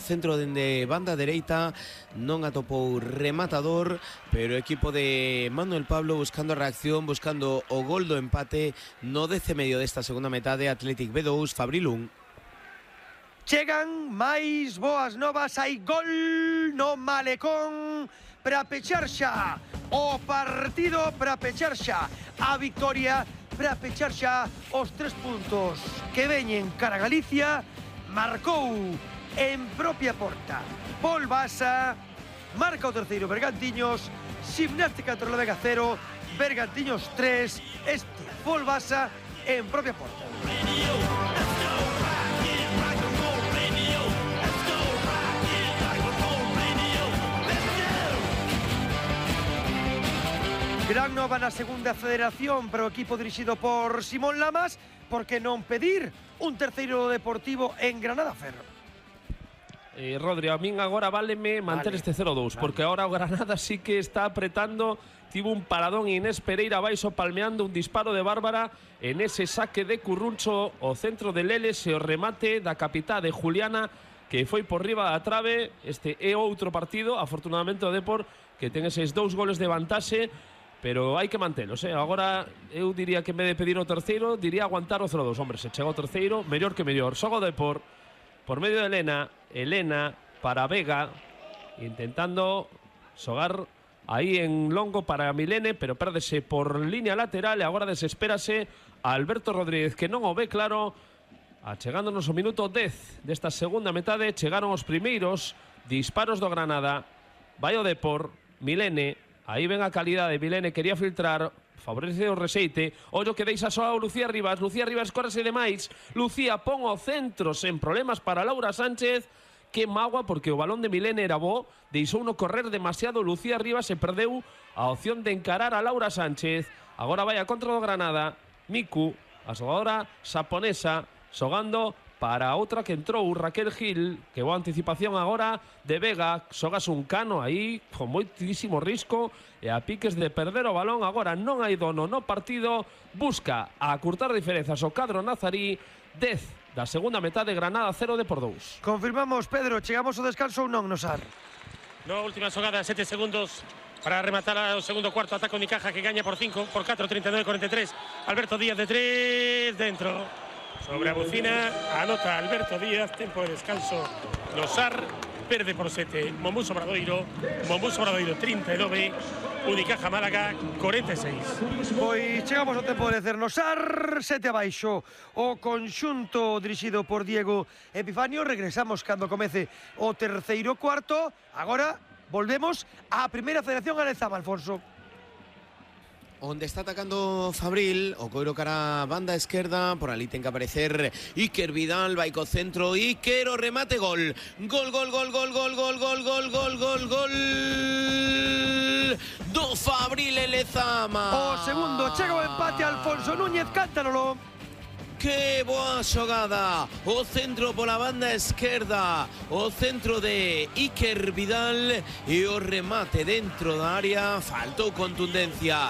Centro dende banda dereita, non atopou rematador, pero o equipo de Manuel Pablo buscando a reacción, buscando o gol do empate no 10 medio desta segunda metade. Athletic B2, Fabril 1. Chegan máis boas novas, hai gol no Malecón para pechar xa o partido, para pechar xa a victoria, para pechar xa os 3 puntos que veñen cara a Galicia. Marcou en propia porta Pol Basa, marca o terceiro Bergantiños, Gimnástica Torrelavega 0, Bergantiños 3, este Pol Basa en propia porta. Gran nova na segunda federación para o equipo dirixido por Simón Lamas, porque non pedir un terceiro deportivo en Granada Ferro. Rodri, a min agora váleme manter este 0-2, porque agora o Granada sí que está apretando. Tivo un paradón Inés Pereira baixo palmeando un disparo de Bárbara en ese saque de Curruncho o centro de Leles e o remate da capitá de Juliana que foi por riba da trave. Este é outro partido, afortunadamente o Depor, que ten eses 2 goles de vantaxe, pero hai que mantelos, Agora eu diría que en vez de pedir o terceiro, diría aguantar o 0-2. Hombre, se chega o terceiro, mellor que mellor. Xoga o Depor por medio de Elena para Vega, intentando xogar aí en longo para Milene, pero pérdese por línea lateral e agora desespérase a Alberto Rodríguez, que non o ve claro. Achegándonos o minuto 10 desta segunda metade, chegaron os primeiros disparos do Granada. Vai o Depor, Milene, aí ven a calidade. Milene quería filtrar, favorece o Reseite. Ollo que deixa só a Lucía Rivas. Lucía Rivas córrese demais. Lucía pon o centro sen problemas para Laura Sánchez. Que magua, porque o balón de Milene era bo, deixou uno correr demasiado Lucía Rivas e perdeu a opción de encarar a Laura Sánchez. Agora vai a contra do Granada. Miku, a xogadora xaponesa, xogando para outra que entrou, Raquel Gil, que boa anticipación agora de Vega. Xogas un cano aí con moitísimo risco e a piques de perder o balón. Agora non hai dono no partido, busca a acurtar diferenzas o cadro nazarí. 10 da segunda metade, Granada 0 Depor 2. Confirmamos, Pedro, chegamos ao descanso ou non, Nosar? No, última xogada, 7 segundos para rematar o segundo cuarto. Ataca Unicaja, que gaña por 5, por 4, 39-43. Alberto Díaz de 3, dentro. Sobre a bucina, anota Alberto Díaz, tempo de descanso. Nosar perde por 7. Mombús Obradoiro 39, Unicaja Málaga 46. Pois chegamos ao tempo de Nosar 7 abaixo. O conxunto dirixido por Diego Epifanio. Regresamos cando comece o terceiro cuarto. Agora volvemos á primeira federación Alezama, Alfonso. Onde está atacando Fabril, o coiro cara a banda esquerda, por ali ten que aparecer Iker Vidal, vai co centro, Iker, o remate, gol. Gol do Fabril Lezama. O segundo, chega o empate, Alfonso Núñez, cántanolo. Que boa xogada, o centro pola banda esquerda, o centro de Iker Vidal e o remate dentro da área. Faltou contundencia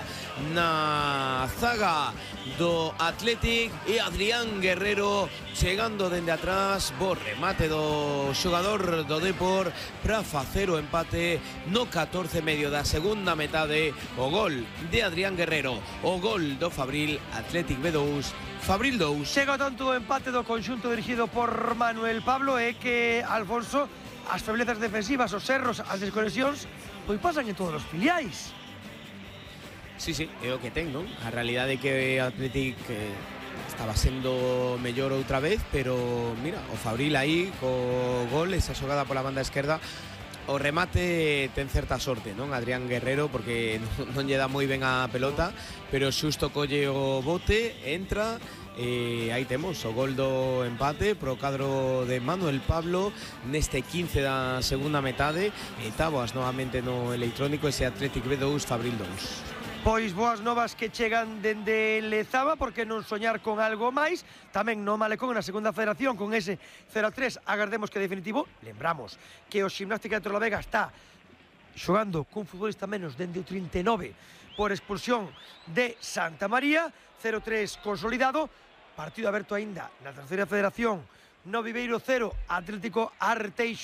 na zaga do Athletic e Adrián Guerrero chegando dende atrás. Bo remate do xogador do Depor para facer o empate no 14 medio da segunda metade. O gol de Adrián Guerrero, o gol do Fabril, Athletic B2 Fabril 2. Chega tanto o empate do conxunto dirigido por Manuel Pablo e que, Alfonso, as feblezas defensivas, os erros, as desconexións, pois pasan en todos os filiais. Sí, é o que ten, non? A realidade é que o Athletic estaba sendo mellor outra vez, pero mira, o Fabril aí co gol, esa xogada pola banda esquerda. O remate ten certa sorte, non? Adrián Guerrero, porque non lle dá moi ben a pelota, pero xusto colle o bote, entra, e aí temos o gol do empate pro cadro de Manuel Pablo neste 15 da segunda metade. E táboas novamente no electrónico ese Athletic B2 Fabril 2. Pois boas novas que chegan dende Lezama, porque non soñar con algo máis. Tamén no Malecón na segunda federación con ese 0-3, agardemos que definitivo. Lembramos que o Gimnástica de Torrelavega está xogando cun futbolista menos dende o 39 por expulsión de Santa María. 0-3 consolidado, partido aberto aínda na terceira federación. No Viveiro 0, Atlético Arteixo